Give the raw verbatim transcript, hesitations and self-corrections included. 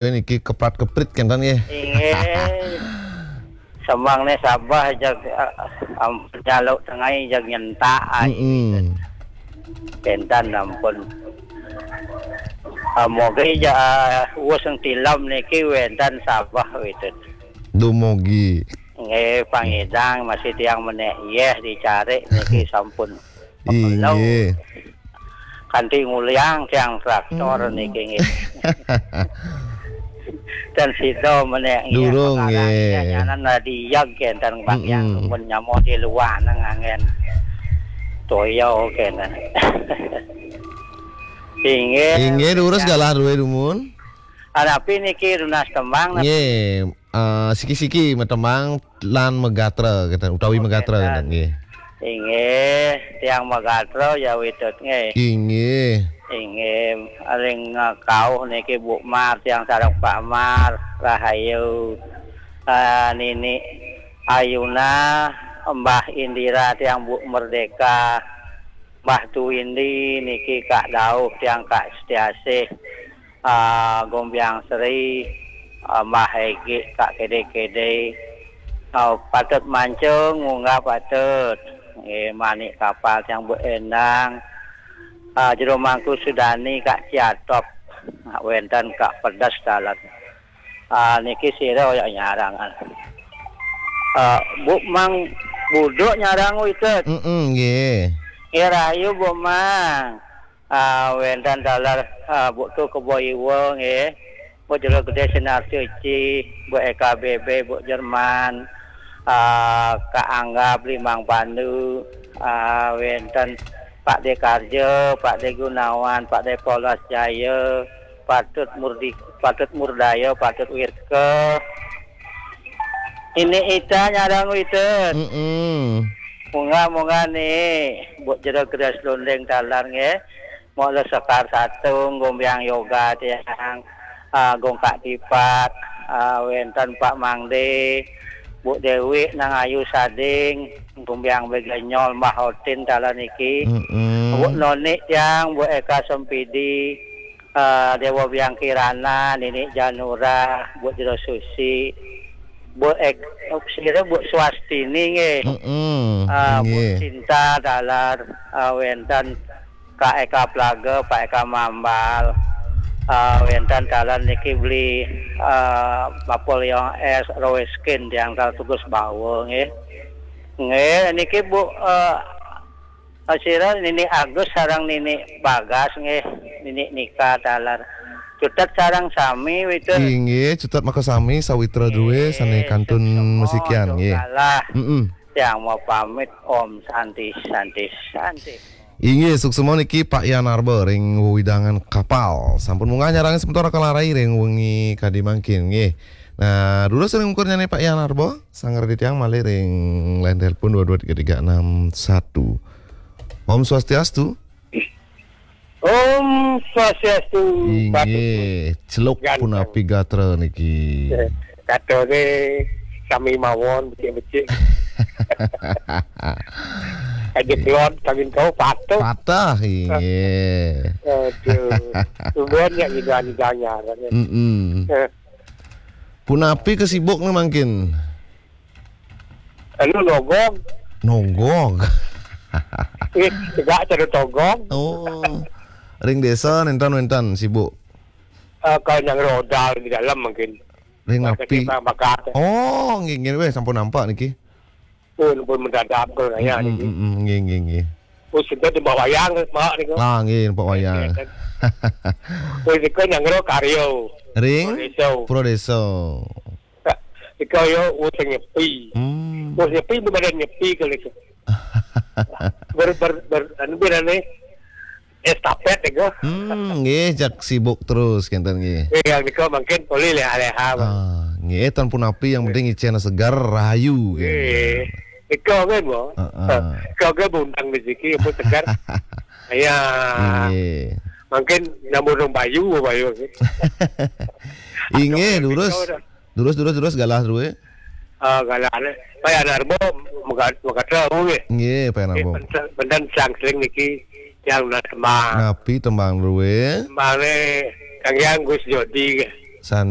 Niki keprat-keprit kenten nggih. Inggih. Semang nih sabeh jag, eh, ampun nyaluk tengai jag nyentak ai. Mm-mm. Kenten ampun. Ah, mogi ja, ah, wus tilam niki wenten sabeh witut. Dumugi. Nggih, pangidang masih tiang menek yeh dicari niki sampun. Inggih. Kanti nguliang tiang traktor niki nggih. Dan sida menek nggih. Durung, perkara nggih. Nyanan radiag kenten bang yang mun nyamo di luar nang angin. Toyo kenten. Inggih. Inggih, durus galah duwe dumun. Anapi niki runas tembang napa? Nggih, eh, siki-siki metembang lan megatra kenten, utawi megatra kenten, nggih. Inggih, tiang megatra ya witut nggih. Inggih. Inggih, ring, eh, kauh niki Bu Mar tiang sareng Pak Mar, rahayu. Eh, Nini Ayuna, Mbah Indira tiang Bu Merdeka, Mbah Tuwindi niki Kak Dauh tiang Kak Setiasih. Ah, Gombiang Sri, ah, Mbah Egi, Kak Kede-Kede, ah, patut mancung, munggah patut. Nggih, Manik Kapal tiang Bu Endang, ah, Jero Mangku Sudani, Kak Ciatop, ah, wenten Kak Pedas dalan. Ah, niki sira ya nyarang. Ah, Bu Mang Buduk nyarang witut. Mm-mm, nggih. Nggih, rahayu Bu Mang. Ah, wenten taler, ah, Bu Tu Kebo Iwa nggih. Bu Jero Gede Sinar Suci, Bu Eka B B, Bu Jerman, ah, Kak Angga Blimang Pandu, ah, wenten Pak De Karjo, Pak De Gunawan, Pak De Polas Jaya, Patut Murdi, Patut Murdaya, Patut Wirke. Ini Ita nyarang witut. Mm-mm. Munggah-munggah nih, Bu Jero Gede Selunding taler nggih. Mula Sekar Satung, Gombiang Yoga tiang, ah, Gong Kak Tipat, ah, wenten Pak Mangde, Bu Dewi nang Ayu Sading, Gombiang Begenyol, Mbah Otin taler niki. Mm-mm. Bu Noni tiang, Bu Eka Sempidi, eh, Dewa Biang Kirana, Nini Janura, Bu Jero Susi, Bu Ek-, sira Bu Swastini nggih. Mm-mm, ah, Bu nggih. Cinta taler, ah, wenten Kak Eka Plaga, Pak Eka Mambal, ah, wenten taler niki beli, ah, Napoleon S, Roeskin tiang taler Tugus Bawa nggih. Nggih, niki Bu, eh, ah, sira Nini Agus sareng Nini Bagas nggih, Nini Nika taler. Cutet sareng sami witut. Inggih, cutet maka sami sawitra duwe sane kantun suksma mesikian nggih. Galah. Mm-mm. Tiang mau pamit, Om Santi, Santi, Santi. Inggih, suksma niki Pak Yan Arba ring wewidangan Kapal. Sampun munggah nyarang semeton Kalarai ring wengi kadi mangkin nggih. Nah, durus ring ukurnyane Pak Yan Arba, sangger titiang malih ring line telepon dua dua tiga tiga enam satu. Om Swastiastu. Om Swastiastu. Inggih, celuk punapi gatra niki. Eh, katone sami mawon becik-becik. Aja kelon kawin kau patuh. Patah, inggih. Aduh. Tubuhan ya gitu anjanya. Mm-mm. Eh. Punapi kesibuk nih mangkin? Anu nogog. Nogog. Eh, tegak cara togog. Oh. Ring desa nenten-nenten sibuk. Eh, kalau yang rodal di dalam mungkin. Ring api. Oh, nggih nggih weh sampun nampak niki. Oh, pun mendadak kalau nanya niki. Mm, mm, nggih nggih nggih. Oh, sudah di bawah wayang, Pak niku. Lah nggih, Pak wayang. Oh, niku yang ro karyo. Ring Pro Deso. Pro Deso. Ika yo wis nyepi. Hmm. Wis nyepi, bener nyepi kali itu. Ber, ber, ber, anu, berane estafet itu. Hmm, nggih, jak sibuk terus kenten nggih. Eh, yang nika mungkin boleh leha-leha, Bang. Ah, nggih, tan punapi yang penting icena segar, rahayu. Nggih. Ika kan, Bang? Heeh. Ika kan undang rezeki, apa segar. Ya. Nggih. Mungkin nyambung dong Bayu, Bayu. Inggih, durus. Durus, durus, durus, galah duwe. Ah, galah. Pak Yan Arbo, mega-, megatra, nggih. Nggih, Pak Yan Arbo. Nggih, benten, benten sang seling niki yang lunas tembang. Napi tembang duwe? Tembange Kang Yang Gus Jodi. Sane